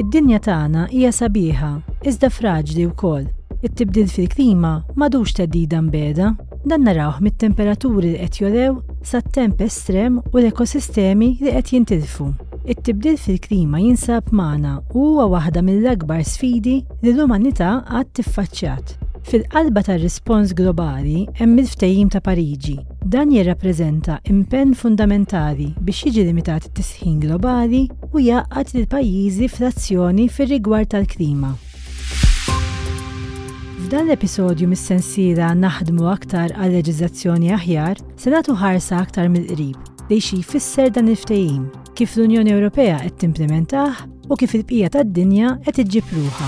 Id-dinja tagħna hija sabiħa, iżda fraġli wkoll. It-tibdil fil-klima m'għadux theddida mbiegħda. Dan narawh mit-temperaturi li qed jogħlew sat-temp estrem u l-ekosistemi li qed jintilfu. It-tibdil fil-klima jinsab magħna u huwa waħda mill-akbar sfidi li l-umanità qatt tiffaċċjat. Fil-qalba tar-rispons globali hemm il-Ftehim ta' Pariġi. Dan jirrappreżenta impenn fundamentali biex jiġi limitat it-tisħin globali u jgħaqqad lill-pajjiżi fl-azzjoni fir-rigward tal-klima. F'dan l-episodju mis-sensiela Naħdmu aktar għal leġiżlazzjoni aħjar, se nagħtu ħarsa aktar mill-qrib lejn xi jfisser dan il-ftehim, kif l-Unjoni Ewropea qed timplimentah u kif il-bqija tad-dinja qed iġġib ruħha.